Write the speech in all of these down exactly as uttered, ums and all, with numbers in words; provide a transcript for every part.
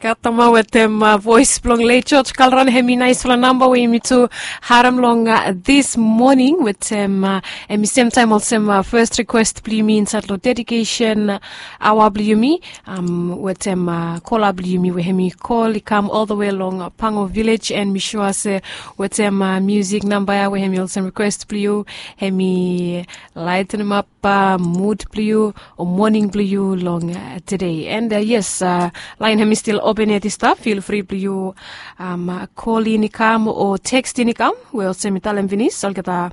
Gatama wetem voes blong lei George Kalran, hemi naisfala namba we yumi tu harem long dis moning wetem, hemi semtaem olsem fes rikwes blong yumi insaed long dedikesen aoa blong yumi, wetem kola blong yumi we hemi kol i kam ol the we long Pango Vilej, and mi sua se wetem musik namba ya we hemi olsem rikwes blong yu, hemi laetenemap mud blong yu o moning blong yu long tede. And yes, laen hemi stil open yet i stap, fil fri blong yu kolin i kam o tekstin i kam, we olsem mi talem finis olgeta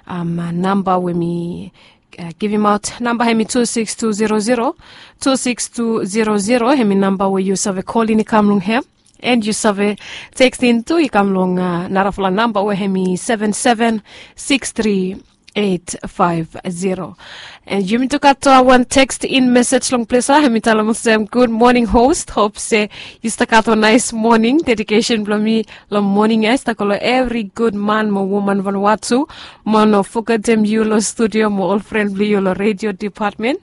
namba we mi givimaot. Namba hemi tu siks tu zero zero, tu siks tu zero zero hemi namba we yu save kolin i kam long hem, and yu save tekstin tu i kam long narafala namba we hemi seven seven six three eight five zero. And yumi tu gat wan tekstin mesej long ples ya, hemi talem olsem, gud moning host, hop se yu stap gat wan naes moning. Dedikesen blong mi long moning ya i stap go long evri gud man mo woman Vanuatu, mo no fogetem yu long studio mo ol fren blong yu long redio depatmen.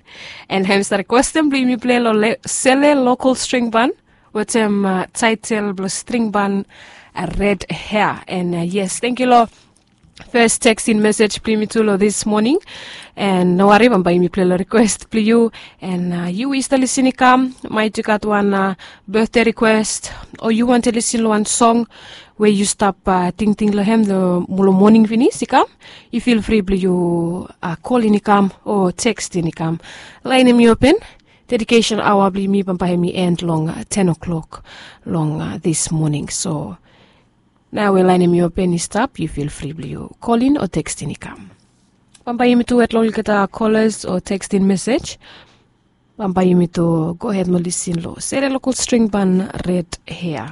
And hemi stap rikwestem blong yumi plei long sele lokol string ban wetem taetel blong string ban, red hea. And yes, tangkiu long fes tekstin mesej blong yumi tu long dis moning. And no wari, bambae yumi plei long rikwes blong yu. And yu we yu stap lisin i kam, maet yu gat wan betde rikwes, o yu wantem lisin long wan song we yu stap tingting long hem long moning finis i kam, yu fil fri blong yu kolin i kam o tekstin i kam. Laen hemi open. Dedikesen aoa blong yumi bambae hemi en long ten o'clock long dis moning. So naoia we laen hemi open i stap, yu fil fri blong yu kolin o tekstin i kam. Bambae yumi tu wet long olgeta kolas o tekstin mesej. Bambae yumi tu gohed mo lisin long sele lokol string ban, red hea.